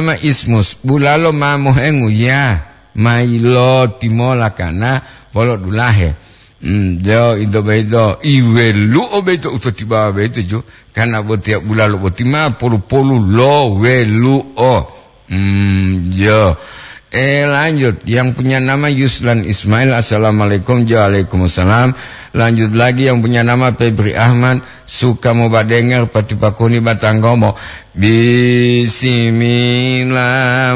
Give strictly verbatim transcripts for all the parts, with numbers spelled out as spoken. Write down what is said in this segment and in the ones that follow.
ma Ismus, bulalo ma mohengu, ya, ma yiloti mola kana polo dulahe. Hmm, jo, ito boyito, iwelu'o boyito u to tibawa boyito ju, kana botiya bulalo boti ma polu-polu lo welu'o. Hmm, jo. Eh, lanjut, yang punya nama Yuslan Ismail, assalamualaikum. Jo, waalaikumsalam. Lanjut lagi, yang punya nama Febri Ahmad, suka mau badenger pati pakuni batanggomo. Bismillah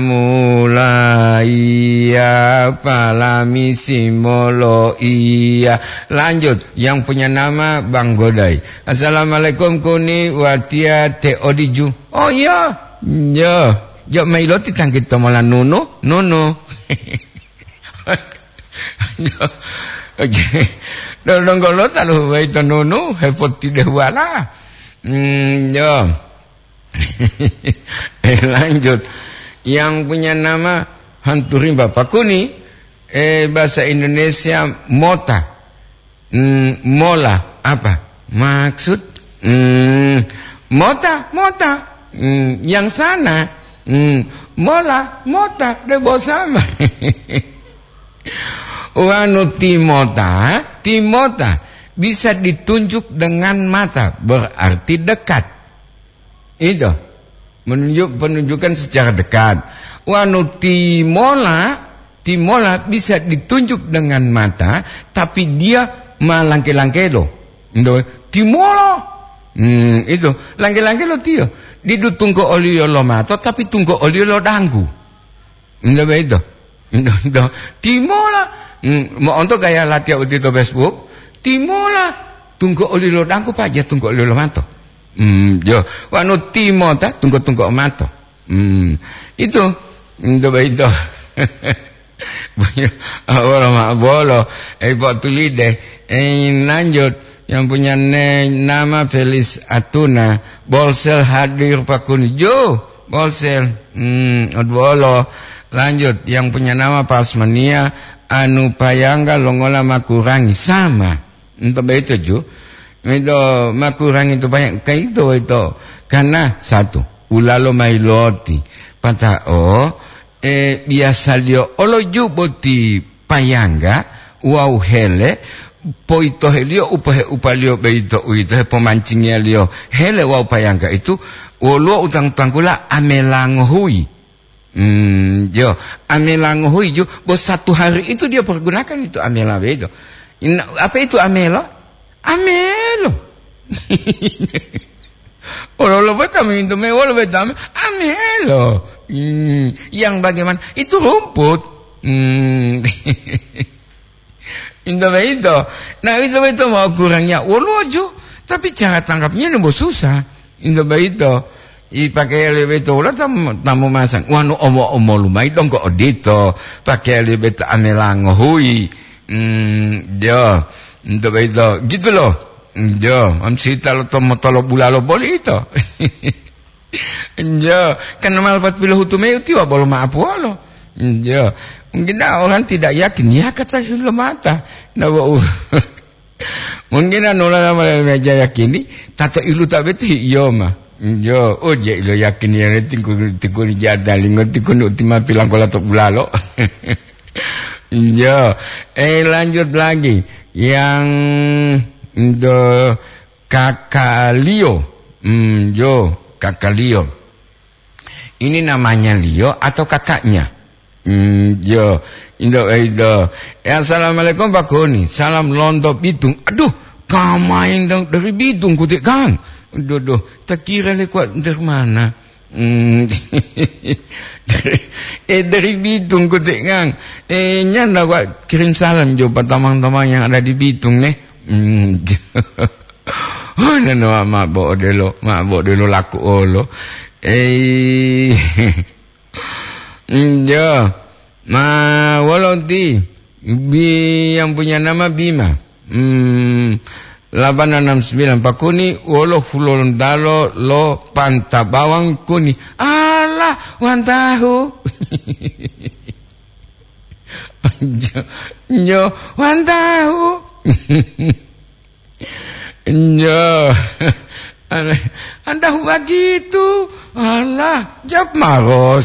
mulaiya, palami simolo iya. Lanjut, yang punya nama Bang Godai. Assalamualaikum kuni, watiya te odiju. Oh iya, iya. Jo mailoti tangkito mola nunu, nunu. Oke. Donggo lo talu waito nunu, hepotide wala. Hmm, yo. Eh, lanjut. Yang punya nama Hanturing Bapak Kuni, eh, bahasa Indonesia mota. Hmm, mola apa? Maksud, hmm, mota, mota. Hmm, yang sana. Hmm, mola, mota, debo sama. Wanu timota, timota bisa ditunjuk dengan mata, berarti dekat. Itu menunjuk, penunjukan secara dekat. Wanu timola, timola bisa ditunjuk dengan mata, tapi dia malangke-langkelo. Ndo, timola. Hmm, itu langke-langkelo tiyo. Didu tungko oliyo lo mato, tapi tungko oliyo lo danggu. Ndo beito. Ndo, ndo. Timola. Hmm, mo'onto gaya latiya uti to Facebook. Timola. Tungko oli lo dangku paja tungko oli lo mato. Hmm, jo. Wanu timota tungko-tungko mato. Hmm, itu. Ndo beito. Awolo ma bolo. Eh, po tulide. Eh, lanjut. Yang punya ne-, nama Felis Atuna. Bolsel hadir pakuni. Jo. Bolsel. Hmm, odwolo. Lanjut, yang punya nama Pasmania, anu payangga longola makurangi. Sama. Ento beito ju. Itu makurangi itu banyak. Kaito itu. Karena satu, ulalo mailoti. Pata'o, eh, biasaliyo olo ju boti payangga wawu hele, poitoheliyo upahe-upaliyo boyito, uwito hepomancingiyaliyo hele wawu payangga itu, woluwo u tanggu-tanggula amela ngohuyi. Hmm, jo, amela ngohuyi ju, bo satu hari itu dia pergunakan itu amela boyito. Ina-, apa itu amela? Amelo. Wolo-wolo beta mintu me, wolo beta me, amelo. Hmm, yang bagaimana? Itu rumput. Hmm. Itu begitu. Nah, itu begitu mau kurangnya woluwo ju, tapi cara tangkapnya nombo susah. Itu begitu. I pakai lebih tola tam-, tamu masang. Wanu omo-omo lumai dong kok odito. Pakai lebih ta amela ngohui. Hmm, jo. Itu begitu. Gitu loh. Jo, am sita lo tomo tolo bulalo boli itu. Jo, kan mal pat pilohutu me utiwa bolo ma'apuwolo. Jo, mungkin dah orang tidak yakin, ya kata lo mata. Nah, wo-, mungkin anu la nama meja yakini, tato ilu tabeti iyo ma. Jo, oh je ilo yakin ya tingku, tingku jada lingo tingku utima pilang kola to bulalo. Jo, eh, lanjut lagi. Yang do kakaliyo. Hmm, jo, kakaliyo. Ini namanya liyo atau kakaknya? Hmm, jo, indo, indo. Eh, assalamualaikum Pak Koni. Salam lonto Bitung. Aduh, kamain dong dari Bitung kutik kang. Duh, duh, tak kira le kuat dari mana? Hmm. Eh, dari Bitung kutik kang. Eh, nyanda kuat kirim salam jo patamang-tamang yang ada di Bitung nih. Hmm. Oh, nano ma bo odelo, ma bo odelo laku olo. Eh, iya. Ma wolo ti? Bi-, yang punya nama Bima. Hmm, delapan enam sembilan Pakuni, wolo Hulontalo lo Panta Bawang Kuni. Alah, wantahu. Nyo, nyo, wantahu. Nyo. Antahu bagitu. Alah, jawab maros.